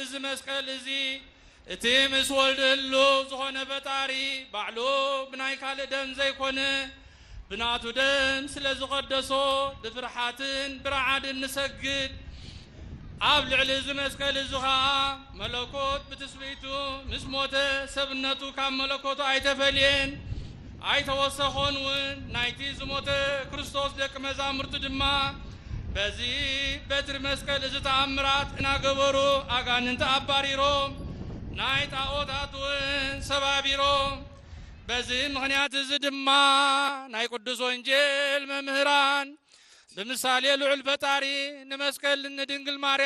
እዚ መስቀል እዚ እቲ ምስ ወልድ ህሉ ዝኾነ ፈጣሪ ባዕሉ ብናይ ካልእ ደም ዘይኮነ ብናቱ ደም ስለ ዝቐደሶ ብፍርሓትን ብረዓድን ንሰግድ። ኣብ ልዕሊ እዚ መስቀል እዚ ኸዓ መለኮት ብትስብእቱ ምስ ሞተ ሰብነቱ ካብ መለኮቱ ኣይተፈልየን ኣይተወሰኾን እውን። ናይቲ ዝሞተ ክርስቶስ ደቂ መዛሙርቱ ድማ በዚ በትሪ መስቀል እዚ ተኣምራት እናገበሩ ኣጋንንቲ ኣባሪሮም ናይ ጣዖታት እውን ሰባቢሮም። በዚ ምኽንያት እዚ ድማ ናይ ቅዱስ ወንጌል መምህራን ብምሳሌ ልዑል ፈጣሪ ንመስቀል ንድንግል ማርያም